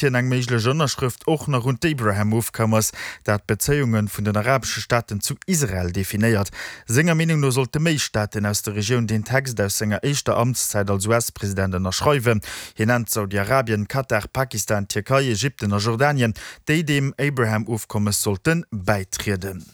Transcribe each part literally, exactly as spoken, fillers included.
Hien eng méiglech Ënnerschrëft och nach un d'Abraham-Ofkommes, dat d'Bezéiunge vun den arabesche Staaten zu Israel definéiert. Senger Meenung no sollte méi Staaten aus der Regioun den Text aus senger éischter Amtszäit als U S-President ënnerschreiwen. Hien nennt Saudi-Arabien, Katar, Pakistan, Tierkei, Ägypten a Jordanien, déi dem Abraham-Ofkommes sollte bäitrieden.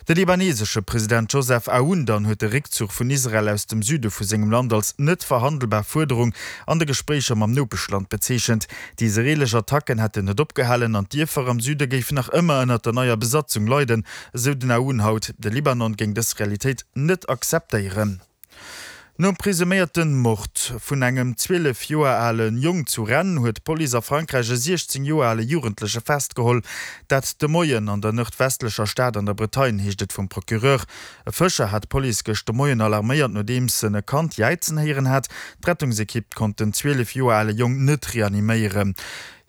De libanesesche President Joseph Aoun dann huet de Réckzuch vun Israel aus dem Süde vu sengem Land als net verhandelbar Fuerderung an de Gespréicher mam Nopeschland bezeechent. Déi israelesch Attacken hätten net opgehalen an d'Dierfer am Süde géifen nach ëmmer ënner der neier Besatzung leiden, esou den Aoun haut. De Libanon géing dës Realitéit net akzeptéieren. Nom presuméierte Mord vun engem zwielef Joer ale Jong zu Rennes huet d'Police a Frankräich e siechzéng Joer ale Jugendleche festgeholl. Dat de Moien an der nordwestlecher Stad an der Bretagne, heescht et vum Procureur. E Fëscher hat d'Police gëscht de Moien alarméiert, nodeems en e Kand jäizen héieren hat. D'Rettungsekipp konnt den zwielef Joer ale Jong net reaniméieren.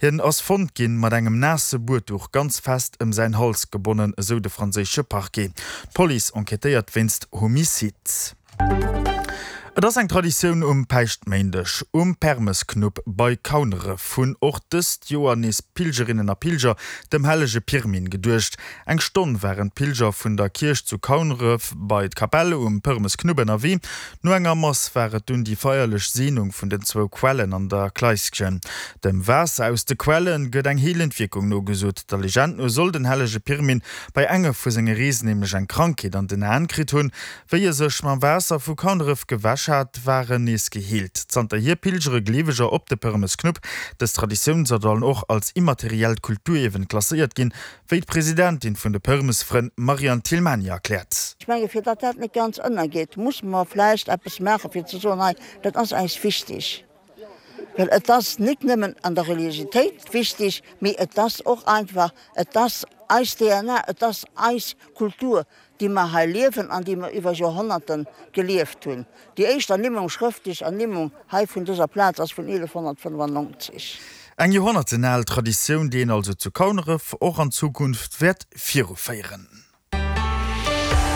Hien ass fonnt ginn, mat engem naasse Buedduch ganz fest ëm säin Hals gebonnen, esou de franséische Parquet. D'Police enquêtéiert wéinst Homicide. Et ass eng Traditioun um Päischtméindeg um Permesknupp bei Kauneref hunn och dëst Joer nees Pilgerinnen a Pilger dem hellege Pirmin geduecht. Eng Stonn waren d'Pilger vun der Kierch zu Kauneref bei d'Kapell um Përmesknupp ënnerwee. No enger Mass war et dunn déi feierlech Seenung vun den zwou Quellen an der Kleisschen. Dem Waasser aus de Quelle gëtt eng heelend Wierkung nogesot. Der Legend no soll den hellege Pirmin bei enge vu senge Reesen nämlech eng Krankheet an den Aen kritt hunn. Wéi e sech mam Waasser vu Kauneref gewäsch hat, war en nees geheelt. Zanterhier pilgere Gleeweger op de Përmesknupp. Dës Traditioun soll dann och als immateriellt Kulturierwen klasséiert ginn, wéi d'Presidentin vun de Përmesfrënn Marianne Thilmany erkläert. Ech menge fir datt dat net ganz ënnergeet, musse mer vläicht eppes maache fir ze soen, hei dat ass eis wichteg. Well et ass net nëmmen an der Religiositéit wichteg, mee et ass och einfach, et ass eis D N A, et ass eis Kultur, déi mer hei liewen an déi mer iwwer Joerhonnerten gelieft hunn. Déi éischt Ernimmung, schrëftlech Ernimmung hei vun dëser Plaz ass vun eelefhonnertfënnefannonzeg. Eng joerhonnertenal Traditioun, déi een also zu Kauneref och an Zukunft wäert viruféieren.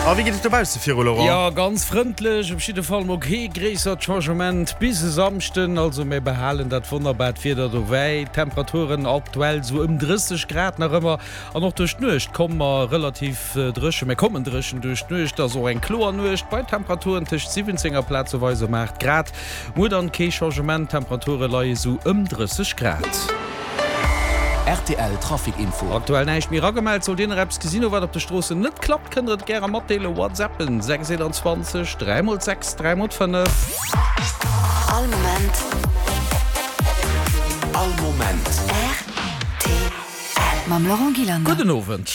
A wéi geet et dobausse viru, Laurent? Jo, ganz frëndlech, op jidde Fall mol kee gréissert Changement bis e Samschden. Also mir behalen dat wonnerbart Wieder dobäi. Temperaturen aktuell sou ëm drësseg Grad nach ëmmer an och duerch d'Nuecht komme mer relativ dréchen. Mir kommen dréchen duerch d'Nuecht, ass och eng kloer Nuecht bei Temperaturen tëscht siwwenzéng a plazeweis ëm aacht Grad. Muer dann kee Changement, Temperature leie sou ëm drësseg Grad. R T L Trafic Info. Aktuell näischt méi eragemellt. Sollt Dir nach eppes gesinn hu wat op de Stroossen net klappt, kënnt der et gäre matdeelen. WhatsAppen sechs einundzwanzeg dräi mol sechs dräi mol fënnef. All Moment. All Moment. R T L. Mam Laurent Gillander. Gudden Owend.